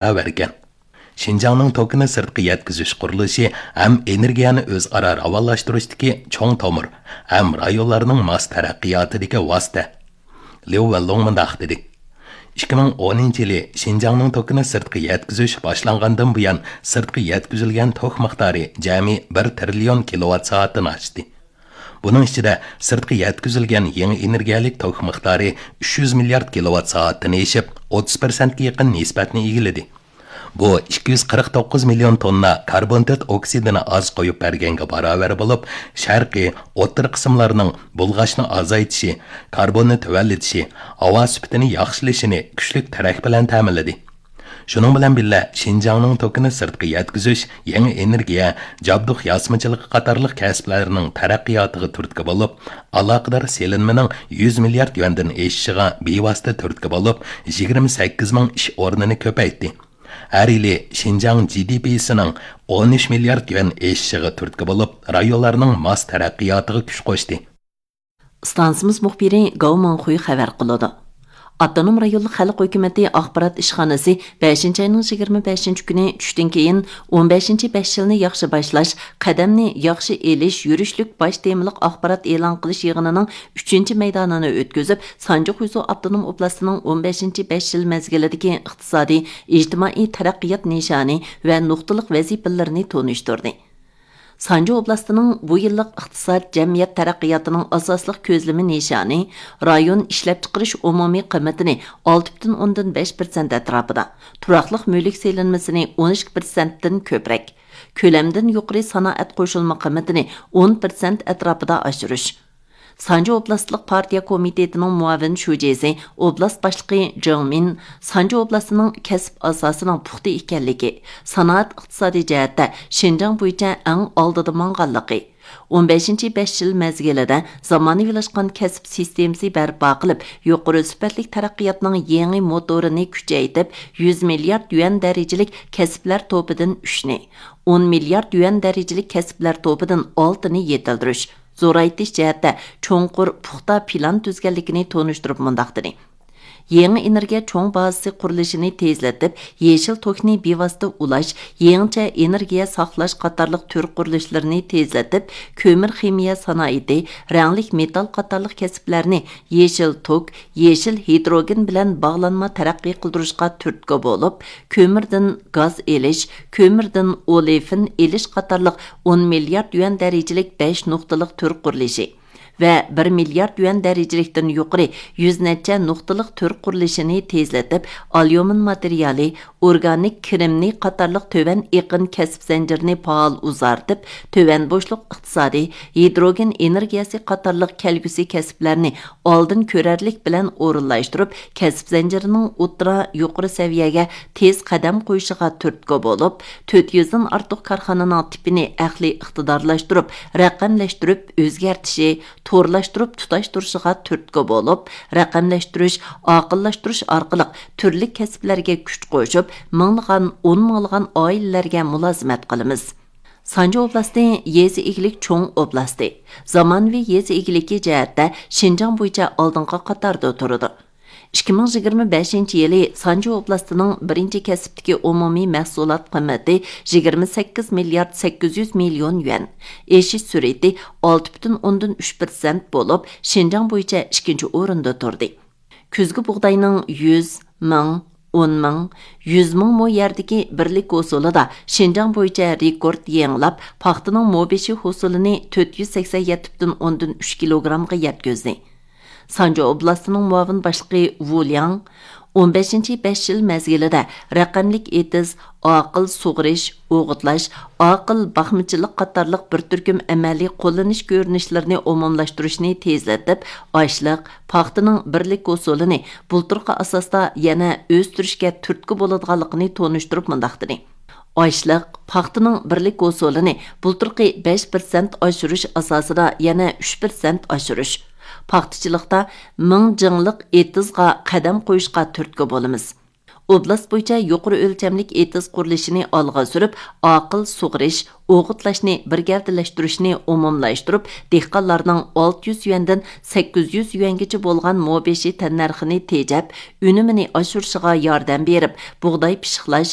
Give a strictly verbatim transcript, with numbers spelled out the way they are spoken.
باراۋەركەن. شىنجاڭنىڭ توكىنى سىرتقا يەتكۈزۈش قۇرۇلۇشى ھەم ئېنېرگىيەنى ئۆزئارا راۋانلاشتۇرۇشتىكى چوڭ تومۇر ھەم رايونلارنىڭ ماس تەرەققىياتىدىكى ۋاسىتە. ليۇ ۋېنلۇڭ مۇنداق دېدى: «ئىككى مىڭ ئونىنچى يىلى شىنجاڭنىڭ توكىنى سىرتقا يەتكۈزۈش باشلانغاندىن بۇيان، سىرتقا يەتكۈزۈلگەن توك مىقدارى جەمئىي بىر تىرىليون كىلوۋات سائەتتىن ئاشتى. بۇنىڭ ئىچىدە سىرتقا يەتكۈزۈلگەن يېڭى ئېنېرگىيەلىك توك مىقدارى ئۈچ يۈز مىليارد كىلوۋات سائەتتىن ئېشىپ، ئوتتۇز پىرسەنتكە يېقىن نىسبەتنى ئىگىلىدى. بۇ ئىككى يۈز قىرىق توققۇز مىليون توننا كاربون تۆت ئوكسىدىنى ئاز قويۇپ بەرگەنگە باراۋەر بولۇپ، شەرقىي، ئوتتۇرا قىسىملارنىڭ بۇلغاشنى ئازايتىشى، كاربوننى تۆۋەنلىتىشى، ھاۋا سۈپىتىنى ياخشىلىشىنى كۈچلۈك تىرەك بىلەن تەمىنلىدى. شۇنىڭ بىلەن بىللە، شىنجاڭنىڭ توكىنى سىرتقا يەتكۈزۈش، يېڭى ئېنېرگىيە، جابدۇق ياسىمىچىلىقى قاتارلىق كەسىپلەرنىڭ تەرەققىياتىغا تۈرتكە بولۇپ، ئالاقىدار سېلىنمىنىڭ يۈز مىليارد يۈەندىن ئېشىشىغا بىۋاسىتە تۈرتكە بولۇپ، يىگىرمە سەككىز مىڭ ئىش ئورنىنى كۆپەيتتى. ھەر يىلى شىنجاڭ جى دى پىسىنىڭ ئون ئۈچ مىليارد يۈەن ئېشىشىغا تۈرتكە بولۇپ، رايونلارنىڭ ماس تەرەققىياتىغا كۈچ قوشتى.» ئىستانسىمىز مۇخبىرى گاۋ مىڭخۇي خەۋەر قىلىدۇ. ئاپتونوم رايونلۇق خەلق ھۆكۈمىتى ئاخبارات ئىشخانىسى بەشىنچى ئاينىڭ يىگىرمە بەشىنچى كۈنى چۈشتىن كېيىن ئون بەشىنچى بەش يىلنى ياخشى باشلاش، قەدەمنى ياخشى ئېلىش يۈرۈشلۈك باش تېمىلىق ئاخبارات ئېلان قىلىش يىغىنىنىڭ ئۈچىنچى مەيدانىنى ئۆتكۈزۈپ، سانجى خۇيزۇ ئاپتونوم ئوبلاستىنىڭ ئون بەشىنچى بەش يىل مەزگىلىدىكى ئىقتىسادىي، ئىجتىمائىي تەرەققىيات نىشانى ۋە نۇقتىلىق ۋەزىپىلىرىنى تونۇشتۇردى. سانجى ئوبلاستىنىڭ بۇ يىللىق ئىقتىساد، جەمئىيەت تەرەققىياتىنىڭ ئاساسلىق كۆزلىمە نىشانى رايون ئىشلەپچىقىرىش ئومۇمىي قىممىتىنى ئالتە پۈتۈن ئوندىن بەش پىرسەنت ئەتراپىدا، تۇراقلىق مۈلۈك سېلىنمىسىنى ئون ئىككى پىرسەنتتىن كۆپرەك، كۆلەمدىن يۇقىرى سانائەت قوشۇلما قىممىتىنى ئون پىرسەنت ئەتراپىدا ئاشۇرۇش. سانجى ئوبلاستلىق پارتىيە كومىتېتىنىڭ مۇئاۋىن شۇجىسى، ئوبلاست باشلىقى جېڭ مىن سانجى ئوبلاستىنىڭ كەسىپ ئاساسىنىڭ پۇختا ئىكەنلىكى، سانائەت ئىقتىسادىي جەھەتتە شىنجاڭ بويىچە ئەڭ ئالدىدا ماڭغانلىقى، ئون بەشىنچى بەش يىل مەزگىلىدە زامانىۋىلاشقان كەسىپ سىستېمىسى بەرپا قىلىپ، يۇقىرى سۈپەتلىك تەرەققىياتنىڭ يېڭى موتورىنى كۈچەيتىپ، يۈز مىليارد يۈەن دەرىجىلىك كەسىپلەر توپىدىن ئۈچنى، ئون مىليارد يۈەن دەرىجىلىك كەسىپلەر توپىدىن ئالتىنى يېتىلدۈرۈش، زورايتىش جەھەتتە چوڭقۇر، پۇختا پىلان تۈزگەنلىكىنى تونۇشتۇرۇپ مۇنداق دېدى: «يېڭى ئېنېرگىيە چوڭ بازىسى قۇرۇلۇشىنى تېزلىتىپ، يېشىل توكنى بىۋاسىتە ئۇلاش، يېڭىچە ئېنېرگىيە ساقلاش قاتارلىق تۈر قۇرۇلۇشلىرىنى تېزلىتىپ، كۆمۈر خىمىيە سانائىتى، رەڭلىك مېتال قاتارلىق كەسىپلەرنى يېشىل توك، يېشىل ھىدروگېن بىلەن باغلانما تەرەققىي قىلدۇرۇشقا تۈرتكە بولۇپ، كۆمۈردىن گاز ئېلىش، كۆمۈردىن ئولېفىن ئېلىش قاتارلىق ئون مىليارد يۈەن دەرىجىلىك بەش نۇقتىلىق تۈر قۇرۇلۇشى ۋە بىر مىليارد يۈەن دەرىجىلىكتىن يۇقىرى يۈز نەچچە نۇقتىلىق تۈر قۇرۇلۇشىنى تېزلىتىپ، ئاليۇمىن ماتېرىيالى، ئورگانىك كىرىمنى قاتارلىق تۆۋەن ئېقىن كەسىپ زەنجىرىنى پائال ئۇزارتىپ، تۆۋەن بوشلۇق ئىقتىسادى، ھىدروگېن ئېنېرگىيەسى قاتارلىق كەلگۈسى كەسىپلەرنى ئالدىن كۆرەرلىك بىلەن ئورۇنلاشتۇرۇپ، كەسىپ زەنجىرىنىڭ ئوتتۇرا، يۇقىرى سەۋىيەگە تېز قەدەم قويۇشىغا تۈرتكە بولۇپ، تۆت يۈزدىن ئارتۇق كارخانىنىڭ تىپىنى ئەقلىي ئىقتىدارلاشتۇرۇپ، رەقەملەشتۈرۈپ ئۆزگەرتىشى، تورلاشتۇرۇپ تۇتاشتۇرۇشىغا تۈرتكە بولۇپ، رەقەملەشتۈرۈش، ئاقىللاشتۇرۇش ئارقىلىق تۈرلۈك كەسىپلەرگە كۈچ قوشۇپ، مىڭلىغان، ئون مىڭلىغان ئائىلىلەرگە مۇلازىمەت قىلىمىز. سانجى ئوبلاستى يېزا ئىگىلىك چوڭ ئوبلاستى، زامانىۋى يېزا ئىگىلىكى جەھەتتە شىنجاڭ بويىچە ئالدىنقى قاتاردا تۇرىدۇ. ئىككى مىڭ يىگىرمە بەشىنچى يىلى سانجى ئوبلاستىنىڭ بىرىنچى كەسىپتىكى ئومۇمىي مەھسۇلات قىممىتى يىگىرمە سەككىز مىليارد سەككىز يۈز مىليون يۈەن، ئېشىش سۈرئىتى ئالتە پۈتۈن ئوندىن ئۈچ پىرسەنت بولۇپ، شىنجاڭ بويىچە ئىككىنچى ئورۇندا تۇردى. كۈزگى بۇغداينىڭ يۈز، مىڭ، ئون مىڭ، يۈز مىڭ مو يەردىكى بىرلىك ھوسۇلىدا شىنجاڭ بويىچە رېكورت يېڭىلاپ، پاختىنىڭ مو بېشى ھوسۇلىنى تۆت يۈز سەكسەن يەتتە پۈتۈن ئوندىن ئۈچ كىلوگرامغا يەتكۈزدى. سانجى ئوبلاستىنىڭ مۇئاۋىن باشلىقى ۋۇ لياڭ ئون بەشىنچى بەش يىل مەزگىلىدە رەقەملىك ئېتىز، ئاقىل سۇغىرىش، ئوغۇتلاش، ئاقىل باقمىچىلىق قاتارلىق بىر تۈركۈم ئەمەلىي قوللىنىش كۆرۈنۈشلىرىنى ئومۇملاشتۇرۇشنى تېزلىتىپ، ئاشلىق، پاختىنىڭ بىرلىك ھوسۇلىنى بۇلتۇرقى ئاساستا يەنە ئۆستۈرۈشكە تۈرتكە بولىدىغانلىقىنى تونۇشتۇرۇپ مۇنداق دېدى: ئاشلىق، پاختىنىڭ بىرلىك ھوسۇلىنى بۇلتۇرقى بەش پىرسەنت ئاشۇرۇش ئاساسىدا يەنە ئۈچ پىرسەنت ئاشۇرۇش، پاختىچىلىقتا مىڭ جىڭلىق ئېتىزغا قەدەم قويۇشقا تۈرتكە بولىمىز. ئوبلاست بويىچە يۇقىرى ئۆلچەملىك ئېتىز قۇرۇلۇشىنى ئالغا سۈرۈپ، ئاقىل سۇغىرىش، ئوغۇتلاشنى بىر گەۋدىلەشتۈرۈشنى ئومۇملاشتۇرۇپ، دېھقانلارنىڭ ئالتە يۈز يۈەندىن سەككىز يۈز يۈەنگىچە بولغان مو بېشى تەننەرخىنى تېجەپ، ئۈنۈمىنى ئاشۇرۇشىغا ياردەم بېرىپ، بۇغداي پىششىقلاش،